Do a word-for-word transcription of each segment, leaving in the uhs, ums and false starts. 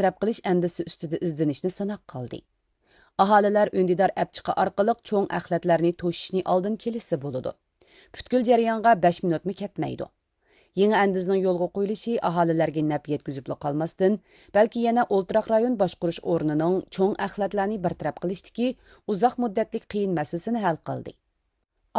تەرەپ قىلىش ئەندىزىسى ئۈستىدە ئىزدىنىشنى سىناق قىلدى. ئاھالىلەر ئۈندىدار ئەپچىقى ئارقىلىق چوڭ ئەخلەتلەرنى توشۇشنى ئالدىنى كېلىشسە بولىدۇ. پۈتكۈل جەريانغا بەش مىنۇتمۇ كەتمەيدۇ. يېڭى ئەندىزىنىڭ يولغا قويۇلۇشى ئاھالىلەرگە نەپ يەتكۈزۈپلا قالماستىن، بەلكى يەنە ئولتۇراق رايون باشقۇرۇش ئورنىنىڭ چوڭ ئەخلەتلەرنى بىر تەرەپ قىلىشتىكى ئۇزاق مۇددەتلىك قىيىن مەسىلىسىنى ھەل قىلدى.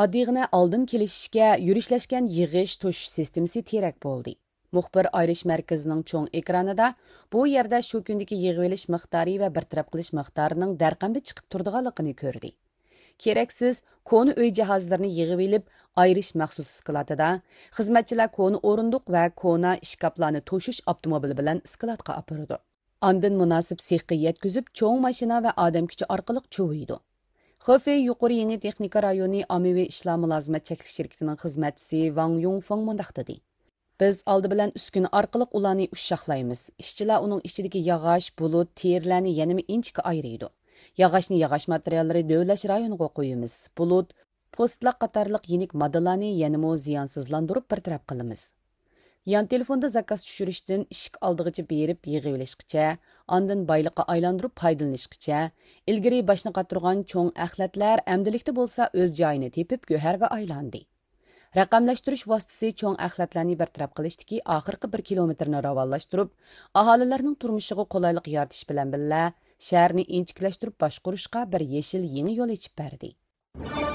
ئاددىيغىنە ئالدىن كېلىشىشكە يۈرۈشلەشكەن يىغىش، توشۇش سىستېمىسى تىرەك بولدى. مۇخبىر ئايرىش مەركىزىنىڭ چوڭ ئېكرانىدا بۇ يەردە شۇ كۈندىكى يىغىۋېلىش مىقدارى ۋە بىر تەرەپ قىلىش مىقدارىنىڭ دەرقەمدە چىقىپ تۇرىدىغانلىقىنى كۆردى. كېرەكسىز، كونا ئۆي جاھازلىرىنى يىغىۋېلىپ، ئايرىش مەخسۇس ئىسكىلاتىدا، خىزمەتچىلەر كونا ئورۇندۇق ۋە كونا ئىشكاپلارنى توشۇش ئاپتوموبىلى بىلەن ئىسكىلاتقا ئاپىرىدۇ. ئاندىن مۇناسىپ سېخقا يەتكۈزۈپ، چوڭ ماشىنا ۋە ئادەم كۈچى ئارقىلىق چۇۋۇيدۇ. خېفېي يۇقىرى يېڭى تېخنىكا رايونى ئاممىۋى ئىشلار مۇلازىمەت چەكلىك شىركىتىنىڭ خىزمەتچىسى ۋاڭ يۇڭفېڭ مۇنداق دېدى: بىز ئالدى بىلەن ئۈسكۈنە ئارقىلىق ئۇلارنى ئۇششاقلايمىز. ئىشچىلار ئۇنىڭ ئىچىدىكى ياغاچ، بۇلۇت، تېرىلەرنى يەنىمۇ ئىنچىكە ئايرىيدۇ. ياغاچنى ياغاچ ماتېرىياللىرى دۆۋىلەش رايونىغا قويىمىز. بۇلۇت، پوستلاق قاتارلىق يېنىك ماددىلارنى يەنىمۇ زىيانسىزلاندۇرۇپ بىر تەرەپ قىلىمىز. يان تېلېفوندا زاكاز چۈشۈرۈشتىن ئىشىك ئالدىغىچە بېرىپ يىغىۋېلىشقىچە، ئاندىن بايلىققا ئايلاندۇرۇپ پايدىلىنىشقىچە، ئىلگىرى باشنى قاتۇرغان چوڭ ئەخلەتلەر ئەمدىلىكتە بولسا ئۆز جايىنى تېپىپ گۆھەرگە ئايلاندى. رەقەملەشتۈرۈش ۋاسىتىسى چوڭ ئەخلەتلەرنى بىر تەرەپ قىلىشتىكى ئاخىرقى بىر كىلومېتىرنى راۋانلاشتۇرۇپ، ئاھالىلەرنىڭ تۇرمۇشىغا قولايلىق يارىتىش بىلەن بىللە، شەھەرنى ئىنچىكىلەشتۈرۈپ باشقۇرۇشقا بىر يېشىل يېڭى يول ئېچىپ بەردى.